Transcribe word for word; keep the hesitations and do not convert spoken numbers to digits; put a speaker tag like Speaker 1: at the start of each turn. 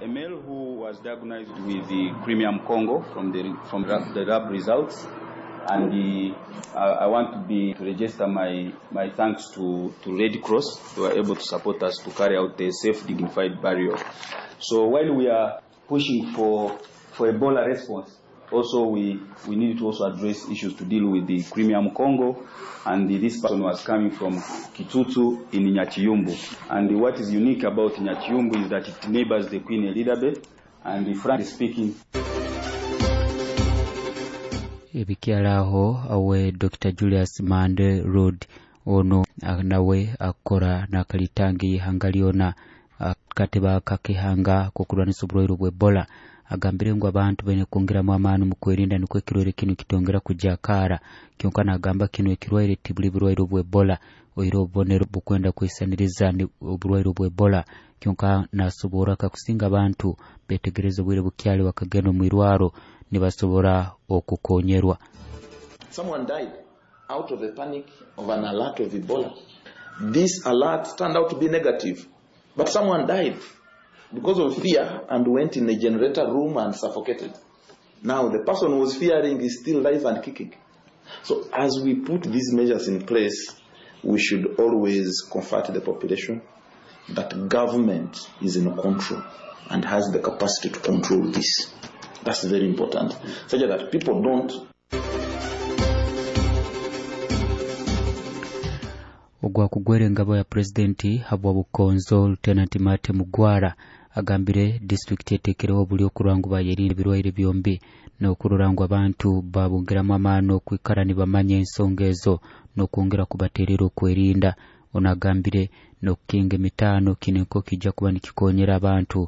Speaker 1: A male who was diagnosed with the Crimean Congo from the, from the lab results. And the, uh, I want to be to register my, my thanks to, to Red Cross who were able to support us to carry out a safe, dignified burial. So while we are pushing for, for Ebola response, also we, we need to also address issues to deal with the Crimean Congo, and the, this person was coming from Kitutu in Nyachiyumbu. And what is unique about Nyachiyumbu is that it neighbors the Queen Elizabeth, and frankly speaking,
Speaker 2: Ebikyalaho awe Doctor Julius Mande Road ono nawe akora nakalitangi ihanga lyona kateba kakihanga kokulwanisa obulwaire bwa Ebola agambire ngu abantu baine kwongeramu amaani mu kwerinda nikwo ekirwaire kinu kitongera kujakara. Kyonka nagamba kino ekirwaire tibuli bulwaire bwa Ebola, oire obubonero bukwenda kwisaniriza obulwaire bwa Ebola. Kyonka nasobora kakusinga abantu betegereza obwire bukyali bakagenda omu irwaro nibasobora okukonyerwa.
Speaker 3: Someone died out of a panic of an alert of Ebola. This alert turned out to be negative, but someone died because of fear and went in a generator room and suffocated. Now the person who was fearing is still alive and kicking. So as we put these measures in place, we should always comfort the population that government is in control and has the capacity to control this. That's very important, such that people don't.
Speaker 2: Ogwa kugwera engabo ya presidenti habwa Bukonzo Lieutenant Mate Mugwara agambire district etekereho obuli okurwangu bayerinde ebirwaire byombi n'okurora ngu abantu babongeramu amaani okwikara nibamanya ensonga ezo n'okwongera kubaterera okwerinda. Ono agambire n'okukinga emitaano kino nko kijja kuba nikikonyera abantu